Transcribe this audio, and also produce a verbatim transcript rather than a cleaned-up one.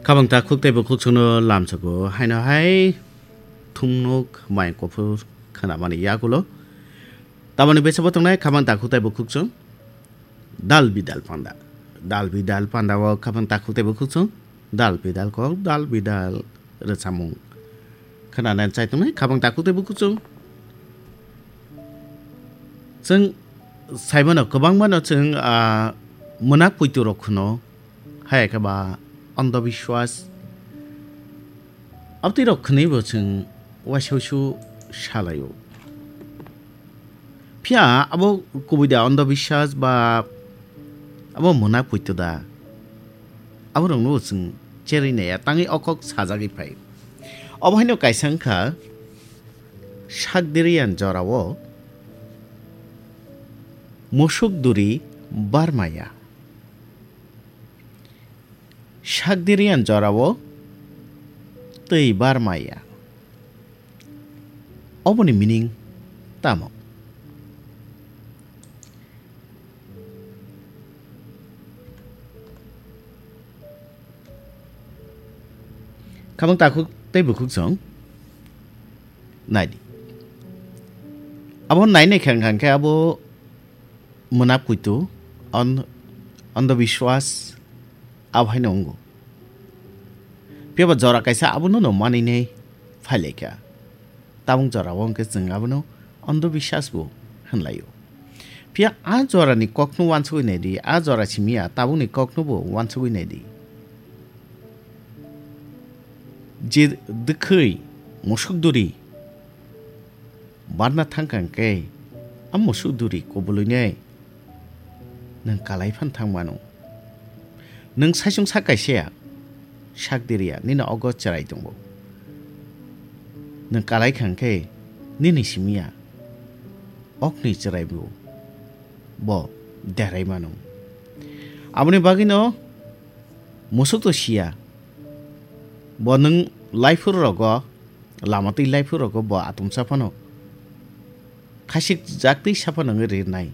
Khabang takhuk tei bukhuk chwngno lamsoko haino hai thumnuk mai kuphur khwnamani yagulo. Tamoni besa bo tongnai khabang takhuk tei bukhuk chwng dal bidal panda. Dal bidal panda o khabang takhuk tei bukhuk chwng dal bidal kok dal bidal rwchapmung khwnanani chai tongnai khabang takhuk tei bukhuk chwng. Chwng saimano kwbangmano chwng, ah, mwnak puitu rok khwno, hai khe ba andhobiswas. Abtwi rok khwnwi bo chwng waisa wasu salaio. Phiya abo kubui da andhobiswas ba abo mwnak puitu da? Abo rokno bo chwng cherwi naiya, tangwi o kok sajagwi phai. Obo haino kaisa wngkha Sakdiriyan jorao musuk duri barmaya. Sakdiriyan jorao twi barmaya. Oboni meaning tamo? Khabang takhuk tei bukhuk chwng nai di. Abo nai nai khe wngkha khe abo mwnak puitu, on-, andhobiswas abo haino wngo. Phiya ba jora kaisa abono no manwi nai phai lai kha. Tabuk jora o hwnkhe chwng abono andhobiswas bo hwnlaio. Phiya a jorani kokno uansugwi nai di, a jora simi ya tabukni kokno bo uansugwi nai di. Je dwkhwi musuk duri barna thangkha hwnkhe, a musuk duri kubulwinai nwng kalai phan thang mano. Nwng saichung sak kaisa ya, sak diriya, nini ogo chwrai tongo. Nwng kalai kha hwnkhe, nini simi ya, okni chwrai bo, bo derai mano. Aboni bagwino musuk to siya, bo nwng laiphuru rogo, lama twi laiphuru rogo bo atumsa phano khasik jak twi sa phano wngwi rinai.